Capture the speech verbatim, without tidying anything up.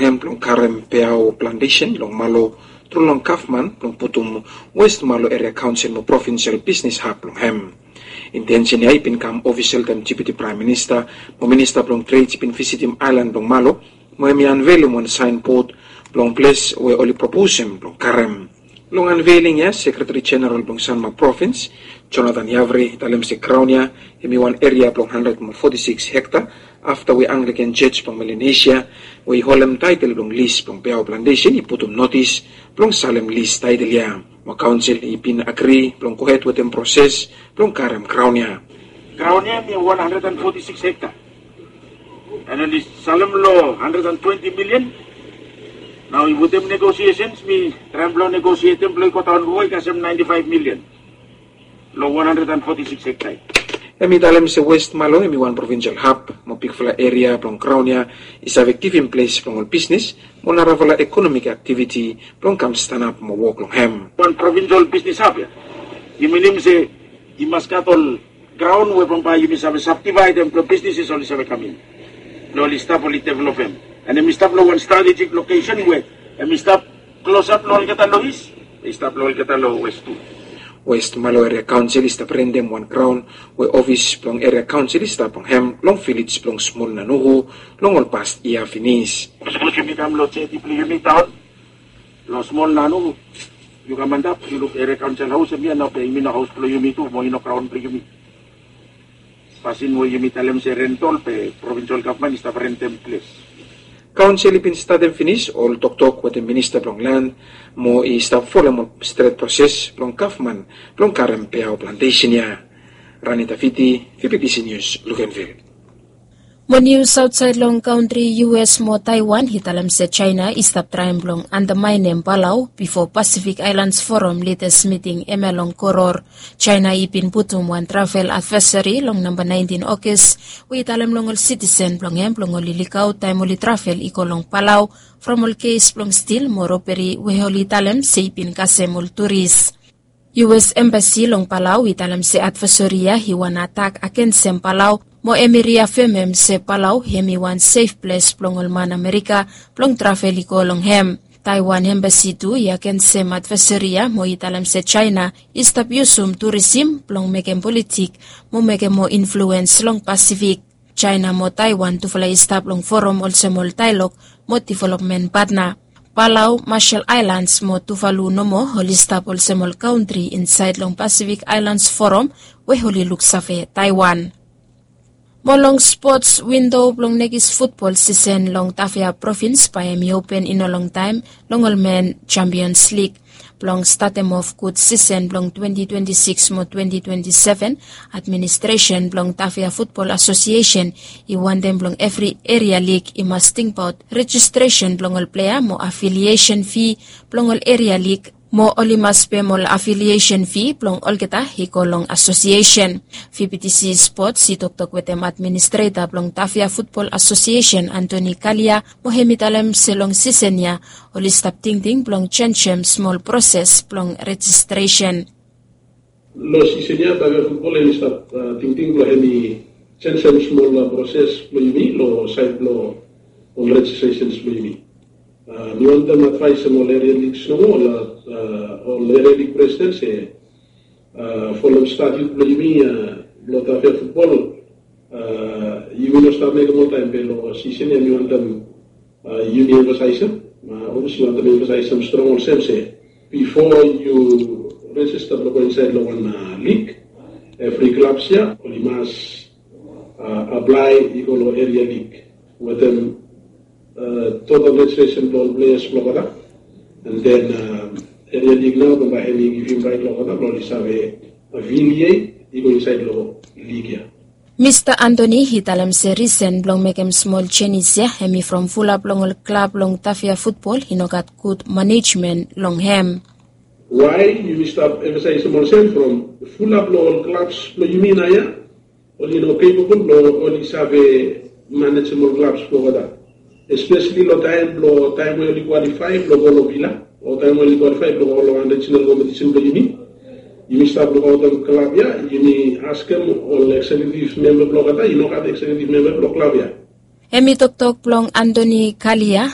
hem blong karem peao plantesen long Malo tru long gavman blong putum West Malo Eria Kaonsel mo provinsel bisnis hab blong hem. Intensen ya i bin kam ofisel taem Deputi Praem Minista mo Minista blong Tred i bin visitim aelan blong Malo mo hem i anvelim wan saenbod blong ples we oli proposem blong karem. Long anveling ya, Sekretari Jeneral blong Sanma Provins, Jonathan Yavri, i talem se graon ya hem i wan eria blong handred mo foti sikis hekta afta we Anglikan Jos blong Melanesia we i holem taetel blong lis blong peao plantesen i putum notis blong salem lis taetel ya. Mo kaonsel i bin agri blong gohed wetem proses blong karem graon ya. Graon ya hem i wan handred and foti sikis hekta. And oli salem long handred and twenti milian. Nao i wetem negosiesens mi traem blong negosietem blong i godaon moa i kasem naenti faef milian long wan handred and foti sikis hekta. Hem i talem se West Malo hem i wan provinsel hab mo bigfala eria blong graon ya i save givim ples blong ol bisnis mo narafala ekonomik aktiviti blong kam stanap mo wok long hem. Wan provinsel bisnis hab ya i minim se i mas gat ol graon we bambae yumi save sabdivaedem blong bisnises oli save kam in blong oli stap oli developem. And hem i stap long wan stratejik lokesen we hem i stap klosap long olgeta long is, i stap long olgeta long wes tu. West Malo Eria Kaonsel i stap rentem wan graon we ofis blong Eria Kaonsel i stap long hem long vilej blong Smol Nanuhu long ol past yia finis. Sapos yumi kam long jeti blong yumi taon long Smol Nanuhu, yu kam antap yu luk Eria Kaonsel haos hem ya nao be yumi no haos blong yumi tu mo i no graon blong yumi. Pasin we yumi talem se rentol be provinsel gavman i stap rentem ples. Kaonsel i bin statem finis ol toktok wetem minista blong lan mo i stap folem ol stret proses blong gavman blong karem peao plantesen ya. Rani Tafiti, V P B C News, Luganville. Mo nius aotsaed long kantri U S mo Taiwan i talem se Jaena i stap traem blong andamaenem Palau bifo Pasifik Aelans Foram lidas miting hemia long Koror. Jaena i bin putum wan travel advaesari long namba naentin Ogas we i talem long ol sitisen blong hem blong oli lukaot taem oli travel i go long Palau from ol kes blong stil mo roberi we oli talem se i bin kasem ol turis. U S Embasi long Palau i talem se advaesari ya i wan atak agensem Palau mo hem i riafemem se Palau hem i wan sef ples blong ol man Amerika blong travel i go long hem. Taiwan Embasi tu i agensem advaesari ya mo i talem se Jaena i stap yusum turisim blong mekem politik mo mekem moa influens long Pasifik. Jaena mo Taiwan tufala i stap long foram olsem ol daelog mo developmen patna. Palau, Marshall Aelans mo Tuvalu nomo oli stap olsem ol kantri insaed long Pasifik Aelans Foram we oli luksave Taiwan. Mo long spots, windo blong nekis futbol sisen long Tafea provins bae hem i open i no longtaem long ol men Champions League. Blong statem of gud sisen blong twenti twenti sikis mo twenti twenti seven, administresen blong Tafea Futbol Asosiesen i wantem blong evri eria lig i mas tingbaot rejistresen blong ol plea mo afiliesen fi blong ol eria lig mo oli mas pem ol afiliesen fi blong olgeta i go long asosiesen. V P T C Spots i toktok wetem administreta blong Tafea Futbol Asosiesen Antoni Kalia mo hem i talem se long sisen ya oli stap tingting blong jenisim smol proses blong rejistresen. Long sisen ya Tafea Futbol hem i stap tingting blong hem i jenisim smol proses blong yumi long saed blong ol rejistresens blong yumi. Mi wantem advaesem ol eria ligs nomo, ol eria lig presiden se folem statiut blong yumi blong Tafea Futbol, yumi no stap mekem oltaem be long sisen ya mi wantem yumi emfasaesem, olsem mi wantem emfasaesem strong olsem se bifo yu rejista blong go insaed long wan lig, evri klabs ya oli mas aplae i go long eria lig wetem total rejistresen blong ol pleas blong olgeta. And then eria lig nao bambae hem i givim raet long olgeta blong oli save afiliet i go insaed long lig ya. Mista Antoni i talem se risen blong mekem smol jenis ya hem i from fulap long ol klab long Tafea Futbol i no gat gud manejmen long hem. Wae yumi stap emfasaesem olsem from fulap long ol klabs blong yumi naoia oli no kepabol blong oli save manejem ol klabs blong olgeta, espeseli long taem blong taem we oli kwalifae blong go long vila o taem we oli kwalifae blong go long wan rejinal kompetisen blong yumi. Yumi stap lukaotem klab ya, yumi askem ol eksekutif memba blong olgeta, i no gat eksekutif memba blong klab ya. Hem i toktok blong Antoni Kalia.